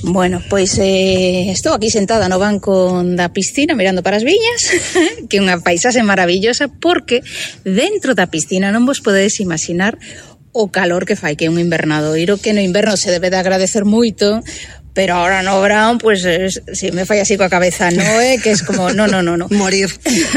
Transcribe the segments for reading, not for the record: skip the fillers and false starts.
Bueno, pois estou aquí sentada no banco da piscina mirando para as viñas, que é unha paisaxe maravillosa, porque dentro da piscina non vos podedes imaginar o calor que fai, que é un invernadoiro, que no inverno se debe de agradecer moito, pero ahora no verán, pues si me fai así coa cabeza Noé, que es como, no. Morir.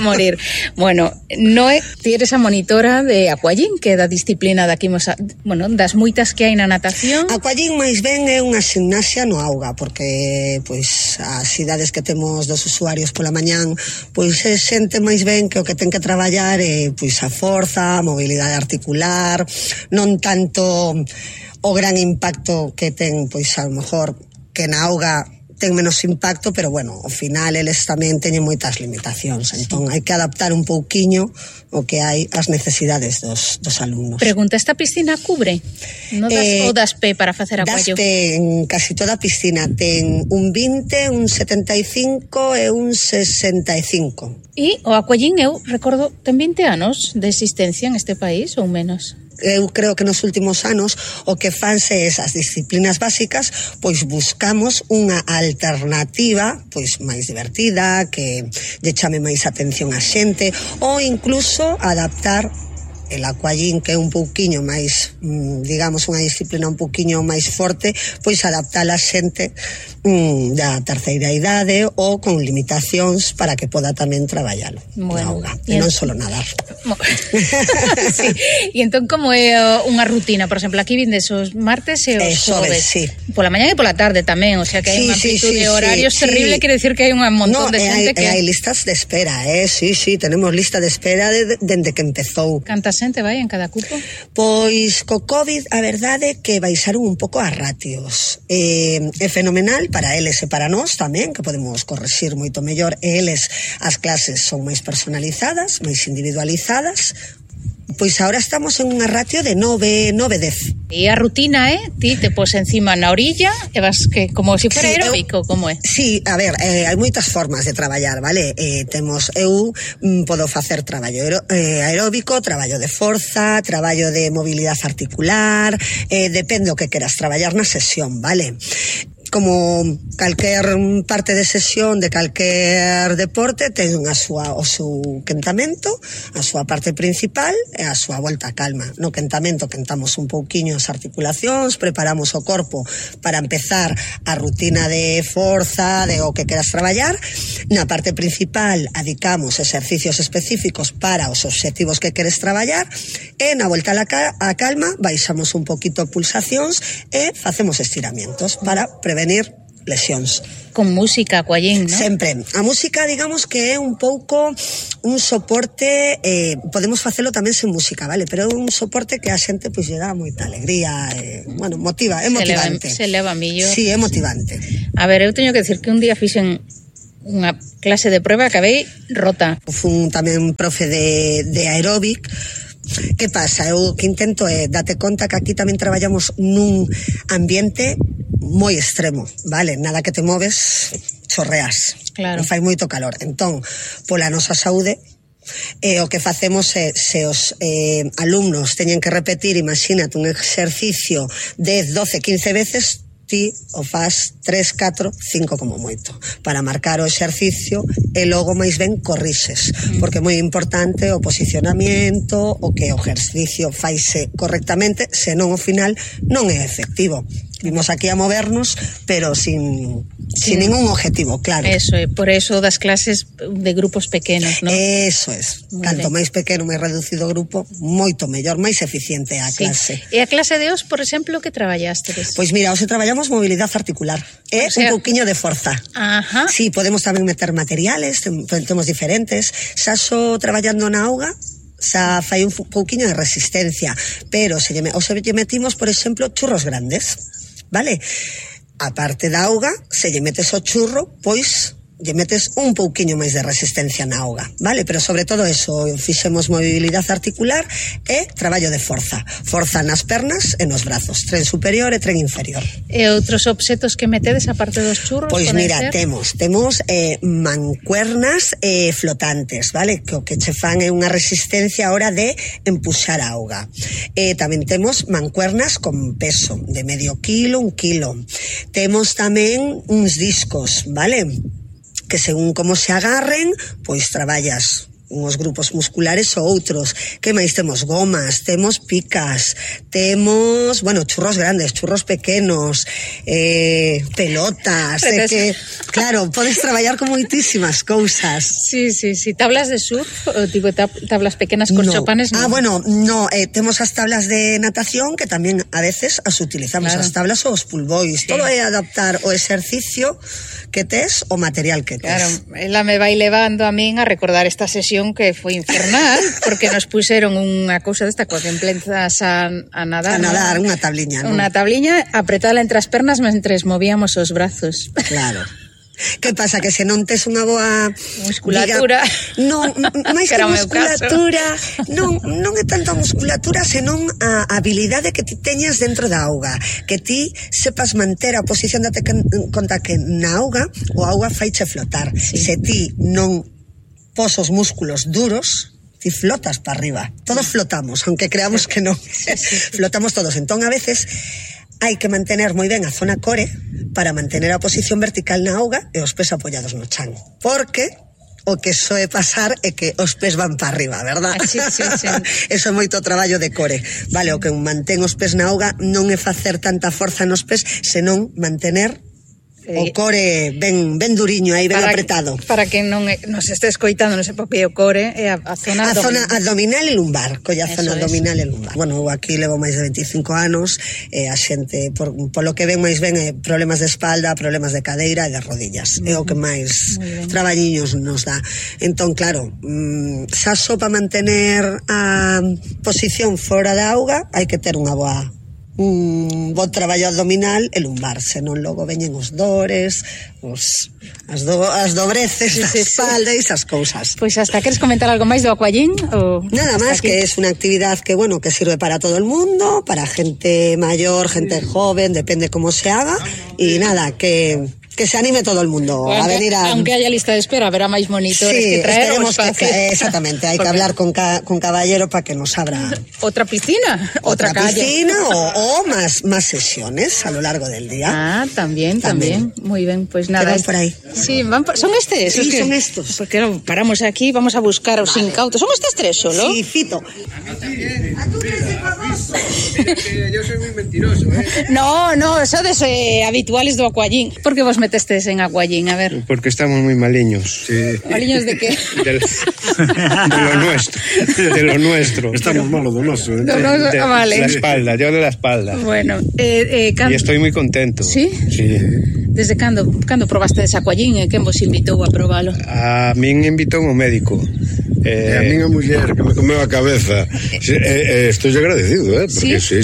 Morir. Bueno, Noé, ti eres a monitora de Aquagym, que é da disciplina de aquí, bueno, das moitas que hai na natación. Aquagym máis ben é unha gimnasia no auga, porque pois as idades que temos dos usuarios pola mañán, pois é xente máis ben que o que ten que traballar é pois a forza, a mobilidade articular, non tanto o gran impacto que ten, pois a lo mejor que na auga ten menos impacto, pero bueno, ao final eles tamén teñen moitas limitacións, entón hai que adaptar un pouquiño o que hai ás necesidades dos alumnos. Pregunta, esta piscina cubre? No das, o das pé para facer aquallo? Das pé en casi toda a piscina, ten un 20, un 75 e un 65. E o Aquagym, eu recordo, ten 20 anos de existencia en este país ou menos? Eu creo que nos últimos anos o que fanse esas disciplinas básicas, pois buscamos unha alternativa pois máis divertida, que lle chame máis atención a xente, ou incluso adaptar el Aquagym, que é un pouquiño máis, digamos, unha disciplina un pouquiño máis forte, pois adaptala a xente da terceira idade ou con limitacións para que poda tamén traballalo na auga, e non só nadar. Sí. E entón, como é unha rutina? Por exemplo, aquí vindes os martes e os xoves, sí. Pola mañá e pola tarde tamén, o sea que hai unha amplitud de horarios terrible, quere decir que hai un montón de xente que... hai listas de espera, sí, tenemos lista de espera dende que empezou. Canta xente vai en cada cupo? Pois co COVID a verdade que baixaron un pouco as ratios, é fenomenal para eles e para nós tamén, que podemos correxir moito mellor, e eles as clases son máis personalizadas, máis individualizadas. Pois agora estamos en unha ratio de 9-10. E a rutina ti te pos encima na orilla e vas que como se fora aeróbico, como é? Sí, a ver, hai moitas formas de traballar, vale? Eu podo facer traballo aeróbico, traballo de forza, traballo de mobilidade articular, depende o que queras traballar na sesión, vale? Como calquer parte de sesión de calquer deporte ten o seu quentamento, a súa parte principal e a súa volta a calma. No quentamento quentamos un pouquiño as articulacións, preparamos o corpo para empezar a rutina de forza, de o que queras traballar. Na parte principal adicamos exercicios específicos para os obxectivos que queres traballar, e na volta a calma baixamos un poquito pulsacións e facemos estiramientos para prevenir lesións. Con música, Aquagym, ¿no? Sempre. A música, digamos que é un pouco un soporte, podemos facelo tamén sen música, vale? Pero é un soporte que a xente pois lle dá moita alegría, bueno, motiva, é motivante. Se leva millor. Sí, é motivante. A ver, eu teño que decir que un día fixen unha clase de prueba, acabei rota. Fun tamén profe de aeróbic. Que pasa? Eu que intento é date conta que aquí tamén traballamos nun ambiente moi extremo, vale? Nada que te moves, chorreas. Claro. Fai moito calor. Entón, pola nosa saúde, o que facemos é, se os alumnos teñen que repetir, imagínate, un exercicio 10, 12, 15 veces, ti o faz 3, 4, 5 como moito, para marcar o exercicio e logo máis ben corrixes, porque é moi importante o posicionamiento, o que o exercicio faise correctamente, senón ao final non é efectivo. Vimos aquí a movernos, pero sin ningún objetivo, claro. Eso, por eso das clases de grupos pequenos, ¿no? Eso es. Canto máis pequeno, máis reducido o grupo, moito mellor, máis eficiente a clase. E a clase de hoxe, por exemplo, que traballastes? Pois mira, hoxe traballamos mobilidade articular, un pouquiño de forza. Ajá. Sí, podemos tamén meter materiales, temos diferentes. Xa só traballando na auga, xa fai un pouquiño de resistencia, pero se lle metimos, por exemplo, churros grandes. Vale? A parte da auga, se lle metes o churro, pois lle metes un pouquiño máis de resistencia na auga, vale? Pero sobre todo eso, fixemos mobilidade articular e traballo de forza. Forza nas pernas e nos brazos, tren superior e tren inferior. E outros obxetos que metedes aparte dos churros? Pois mira, temos mancuernas flotantes, vale? Que o que che fan é unha resistencia a hora de empuxar a auga. Tamén temos mancuernas con peso de medio kilo, 1 kilo. temos tamén uns discos, vale? Que según como se agarren, pois traballas uns grupos musculares ou outros. Que máis temos? Gomas, temos picas, temos, bueno, churros grandes, churros pequenos, pelotas, que, claro, podes traballar con moitísimas cousas. Sí, tablas de surf, o tipo tablas pequenas con chopanes. No. Bueno, no, temos as tablas de natación que tamén a veces as utilizamos, claro. As tablas ou os pool boys, todo é adaptar o exercicio que tes, o material que tes. Claro, ela me vai levando a min a recordar esta sesión que foi infernal, porque nos puseron unha cousa desta coa que emplezas a nadar. A nadar, unha tabliña, non? Unha tabliña apretada entre as pernas mentres movíamos os brazos. Claro. Que pasa? Que se non tes unha boa musculatura, non, máis que musculatura, non é tanto a musculatura, senón a habilidade que ti teñas dentro da auga, que ti sepas manter a posición, date conta que na auga o auga faiche flotar. Sí. Se ti non pos os músculos duros, ti flotas para arriba. Todos flotamos, aunque creamos que non. Flotamos todos. Entón, a veces, hai que mantener moi ben a zona core para mantener a posición vertical na auga e os pés apoiados no chan. Porque o que soe pasar é que os pés van para arriba, verdad? Sí. Eso é moito traballo de core. Vale, o que mantén os pés na auga non é facer tanta forza nos pés, senón mantener o core ben duriño aí, ben apretado. Para que non nos este escoitando, non se porque o core é a zona abdominal e lumbar, colla zona abdominal e lumbar. Bueno, eu aquí levo máis de 25 anos, a xente, polo que ven máis ben, problemas de espalda, problemas de cadeira e de rodillas. É o que máis traballiños nos dá. Entón, claro, xa só para mantener a posición fora da auga, hai que ter unha boa un bo traballo abdominal e lumbar, senón logo veñen os dores, as dobreces da espalda e esas cousas. Pois hasta queres comentar algo máis do aquagym? Nada máis, que é unha actividad que, bueno, que sirve para todo el mundo, para gente mayor, gente joven, depende como se haga, e nada, que se anime todo el mundo a venir a... Aunque haya lista de espera, habrá máis monitores que traer. Exactamente, hai que hablar con caballero para que nos abra... Outra piscina, outra piscina o más sesiones a lo largo del día. También. Muy bien, pues nada. Por ahí. Sí, son estes. Sí, son estos. Porque paramos aquí, vamos a buscar os incautos. ¿Son estes tres solo? Sí, Fito. Yo soy muy mentiroso, No, sodes habituales do aquagym. Por que vos metestes en aquagym? A ver. Porque estamos muy maliños. Sí. ¿Maliños de qué? De lo nuestro. Estamos malos do noso. Vale. La espalda, yo de la espalda. Bueno. Y estoy muy contento. ¿Sí? Sí. Desde cando probaste ese aquagym? Quen vos invitou a probalo? A min invitou un médico. A min a muller que me comeu a cabeza. Estoy agradecido, porque sí,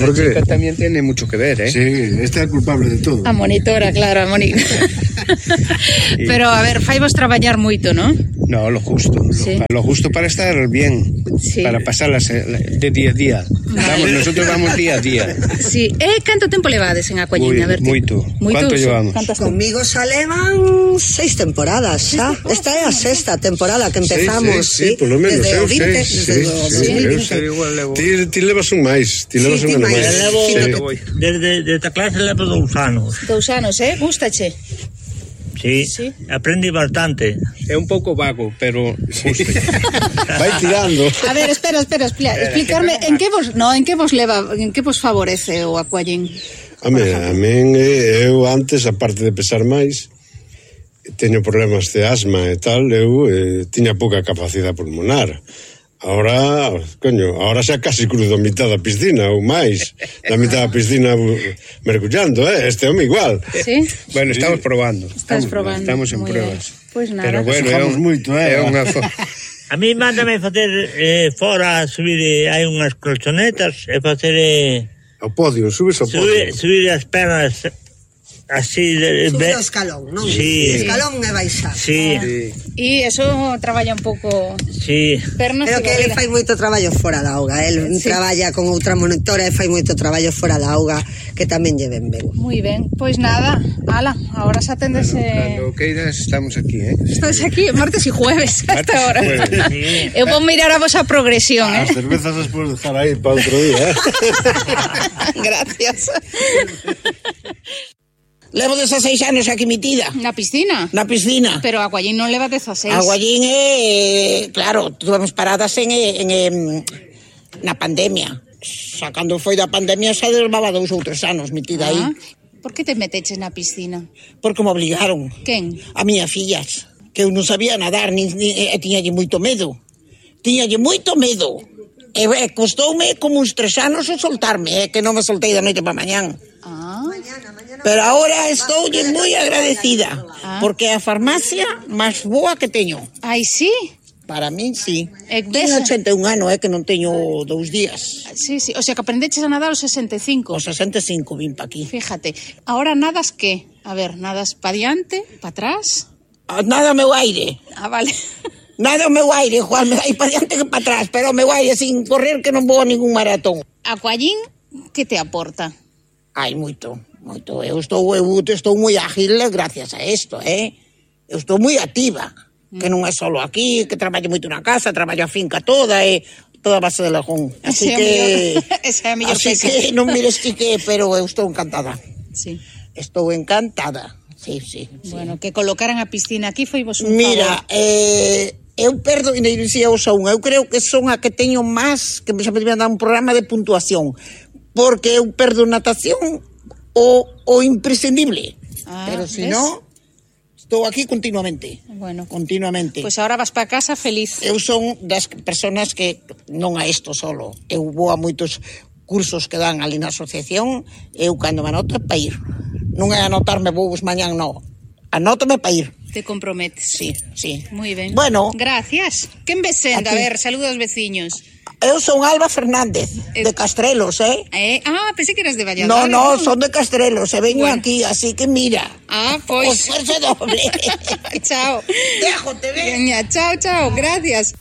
porque la chica también tiene mucho que ver, Sí, esta é culpable de todo. A monitora, claro, a monitora. Pero, a ver, faivos traballar moito, ¿no? No, lo justo. Sí. Lo justo para estar bien, para pasarlas de día a día. Vale. Nosotros vamos día a día. Sí. Canto tempo levades en aquagym? A ver, moito. ¿Cuánto llevamos? Conmigo xa levan 6 temporadas, xa. Esta é a 6ª temporada que empezamos, sí, por lo menos. Desde o 20. Ti levas un máis. Ti levas un ano máis. Desde esta clase levo 2 anos. 2 anos, gustache? Sí, aprendí bastante. É un pouco vago, pero vai tirando. A ver, espera, explicarme en que vos favorece o aquagym? A min, eu antes, aparte de pesar máis, teño problemas de asma e tal, eu tiña pouca capacidade pulmonar. Ahora xa casi cruzo a mitad da piscina ou máis, da mitad da piscina mergullando, este home igual. Sí? Bueno, estamos probando. Estamos en pruebas. Pois nada. Pero bueno, moito, A mí mándame facer fora, subir, hai unhas colchonetas e facer ao podio, subes ao podio. Subir as pernas así subir o escalón, non? Sí. Escalón e baixar. Sí. E eso traballa un pouco pernas. Pero que ele fai moito traballo fora da auga. El traballa con outra monitora e fai moito traballo fora da auga que tamén lle ven ben. Moi ben, pois nada, ala, agora xa tendes... Cando queiras estamos aquí, Estás aquí martes e jueves hasta ahora. Eu vou mirar a vosa progresión, As cervezas as podes dejar aí para outro día, Gracias. Levo 16 anos aquí metida. Na piscina? Na piscina. Pero Aguallín non leva 16. Aguallín claro, tuvemos paradas na pandemia. Xa cando foi da pandemia xa levaba 2 ou 3 anos metida aí. Por que te meteches na piscina? Porque me obligaron. Quen? A miña fillas, que eu non sabía nadar, tiñalle moito medo. E costoume como uns 3 anos o soltarme, que non me soltei da noite para mañán. Pero ahora estou moi agradecida, porque é a farmacia máis boa que teño. Ai, sí? Para min, sí. Teño 81 anos, que non teño 2 días. Sí, o sea, que aprendeches a nadar aos 65. Aos 65 vim pa aquí. Fíjate, ahora nadas que? A ver, nadas pa diante, pa atrás? Nada o meu aire. Vale. Nada o meu aire, Juan, me vai pa diante que pa atrás, pero o meu aire sin correr que non vou a ningún maratón. Aquallín, que te aporta? Ai, moito. Eu estou moi ágil gracias a isto, Eu estou moi activa, que non é só aquí, que traballo moito na casa, traballo a finca toda, toda a base de Lajón. Así que... Esa é a mellor así que non mires que, pero eu estou encantada. Sí. Estou encantada, sí. Bueno, que colocaran a piscina aquí foi vos un favor. Mira, eu perdo, e dicía eu creo que son a que teño máis, que xa me debían dar un programa de puntuación, porque eu perdo natación o imprescindible. Pero si no, estou aquí continuamente. Bueno, continuamente. Pues ahora vas para casa feliz. Eu son das personas que non a isto solo. Eu vou a moitos cursos que dan ali na asociación, eu cando me anoto é para ir. Non é anotarme vos mañán, non. Anótame para ir. Te comprometes. Sí. Moi ben. Bueno. Gracias. Quen vesenda? A ver, saludos aos veciños. Eu son Alba Fernández, de Castrelos, pensé que eras de Valladolid. No, son de Castrelos, veño aquí, así que mira. Pois. Esfuerzo doble. Chao. Déjote, Veña, chao, gracias.